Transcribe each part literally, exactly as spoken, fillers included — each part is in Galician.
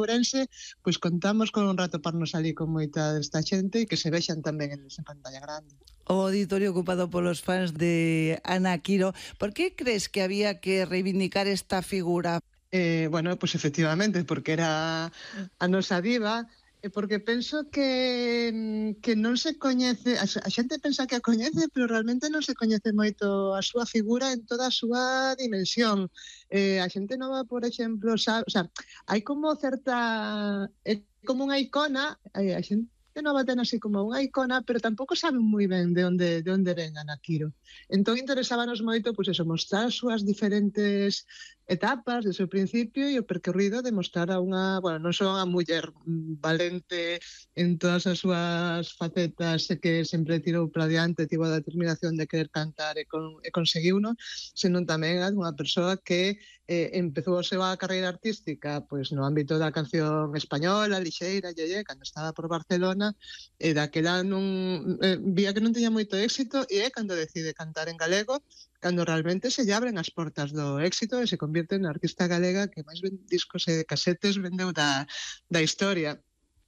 Ourense, pois contamos con un rato para nos salir con moita desta xente e que se vexan tamén eles en pantalla grande. O auditorio ocupado polos fans de Ana Quiro. Por que crees que había que reivindicar esta figura? Eh, bueno, pois efectivamente, porque era a nosa diva, e porque penso que que non se coñece, a xente pensa que a coñece, pero realmente non se coñece moito a súa figura en toda a súa dimensión. Eh, a xente nova, por exemplo, sabe, o sea, hai como certa, é como unha icona, a xente nova ten así como unha icona, pero tampouco saben moi ben de onde de onde ven Ana Quiro. Entón interesábanos moito, pois eso, mostrar as súas diferentes etapas do seu principio e o percorrido de mostrar a unha, bueno, non só a muller valente en todas as súas facetas e que sempre tirou para diante, tivo a determinación de querer cantar e, con, e conseguiuno, senón tamén a unha persoa que eh, empezou a súa carreira artística pois no ámbito da canción española, lixeira, yeye, cando estaba por Barcelona, e daquela non eh, vía que non tiña moito éxito e é cando decide cantar en galego, cando realmente se lle abren as portas do éxito e se convirte na artista galega que máis discos e casetes vendeu da, da historia.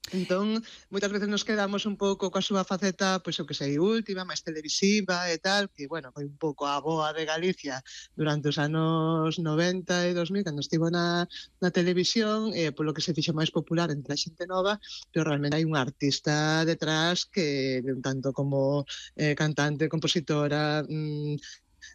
Entón, moitas veces nos quedamos un pouco coa súa faceta, pois o que sei, última, máis televisiva e tal, que, bueno, foi un pouco a boa de Galicia durante os anos noventa e dos mil, cando estivo na, na televisión, e polo que se fixo máis popular entre a xente nova, pero realmente hai unha artista detrás que, un tanto como eh, cantante, compositora, mmm,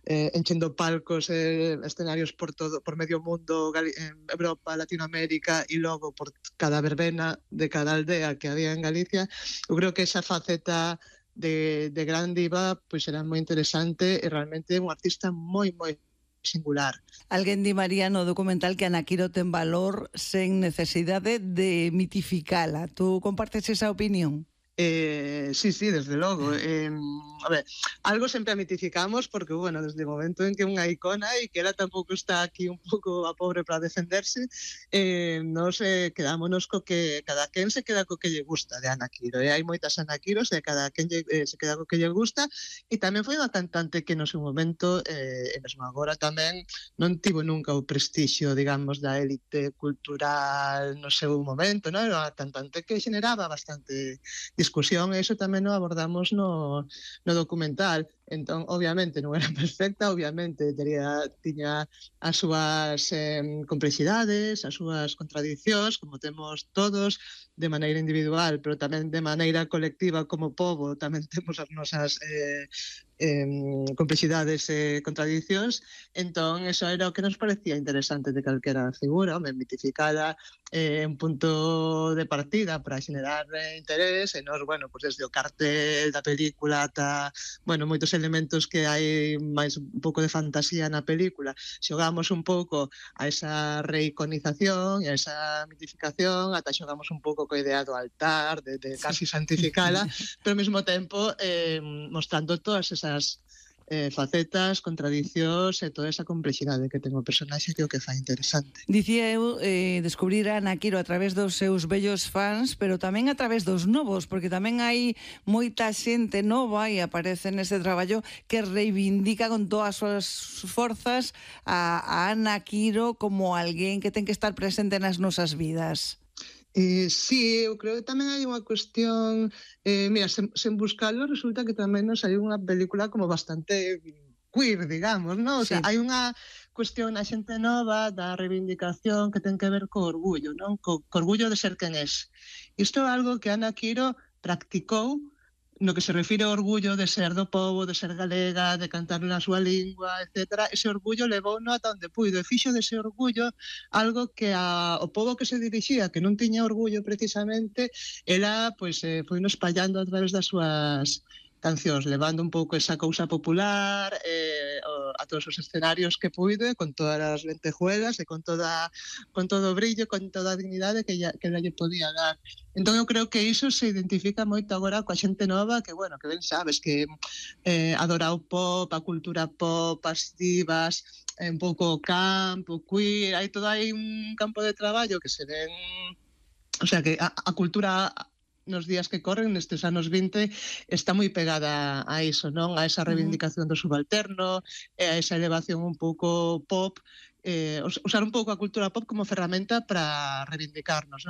Eh, enchendo palcos e eh, escenarios por todo, por medio mundo, Gali en Europa, Latinoamérica e logo por cada verbena de cada aldea que había en Galicia. Eu creo que esa faceta de, de gran diva pois era moi interesante e realmente un artista moi, moi singular. Alguén di María no documental que Ana Quiro ten valor sen necesidade de mitificala. Tú compartes esa opinión? Eh, sí, sí, desde logo. Eh, a ver, algo sempre a mitificamos porque, bueno, desde o momento en que unha icona e que ela tampouco está aquí un pouco a pobre para defenderse, eh, nos eh, quedámonos co que cada quen se queda co que lle gusta de Ana Quiro. E hai moitas Ana Quiros e cada quen lle, eh, se queda co que lle gusta, e tamén foi unha cantante que no seu momento, eh, e mesmo agora tamén, non tivo nunca o prestixio, digamos, da élite cultural no seu momento, non? Era unha cantante que generaba bastante discusión, e iso tamén o abordamos no, no documental. Entón, obviamente, non era perfecta, obviamente, tería, tiña as súas eh, complexidades, as súas contradicións, como temos todos, de maneira individual, pero tamén de maneira colectiva como pobo, tamén temos as nosas eh, eh, complexidades e contradicións. Entón, eso era o que nos parecía interesante de calquera figura, home, mitificada, eh, un punto de partida para xenerar eh, interés, e nos, bueno, pues desde o cartel da película ata, bueno, moitos elementos que hai máis un pouco de fantasía na película, xogamos un pouco a esa reiconización e a esa mitificación, ata xogamos un pouco coa idea do altar, de, de casi santificala, pero ao mesmo tempo eh, mostrando todas esas eh, facetas, contradicións e toda esa complexidade que ten o personaxe, que é o que fai interesante. Dicía eu eh, descubrir a Ana Quiro a través dos seus bellos fans, pero tamén a través dos novos, porque tamén hai moita xente nova e aparece neste traballo que reivindica con todas as súas forzas a, a Ana Quiro como alguén que ten que estar presente nas nosas vidas. Eh, sí, eu creo que tamén hai unha cuestión, eh, mira, sen, sen buscarlo, resulta que tamén nos hai unha película como bastante queer, digamos, non? O sea, sí, hai unha cuestión na xente nova da reivindicación que ten que ver co orgullo, non? Co, co orgullo de ser quen es. Isto é algo que Ana Quiro practicou no que se refire ao orgullo de ser do pobo, de ser galega, de cantar na súa lingua, etcétera. Ese orgullo levou no ata onde puido, e fixo dese orgullo algo que a, o pobo que se dirixía, que non tiña orgullo precisamente, ela pois, eh, foi no espallando a través das súas cancións, levando un pouco esa cousa popular eh, a todos os escenarios que puido, con todas as lentejuelas e con toda con todo o brillo, con toda a dignidade que ella, que ella lle podía dar. Entón eu creo que iso se identifica moito agora coa xente nova, que, bueno, que ben sabes que eh, adora o pop, a cultura pop, as divas, eh, un pouco o campo, queer, hai todo aí un campo de traballo que se ven, o sea, que a, a cultura nos días que corren, nestes anos vinte, está moi pegada a iso, non? A esa reivindicación do subalterno, e a esa elevación un pouco pop, eh, usar un pouco a cultura pop como ferramenta para reivindicarnos, non?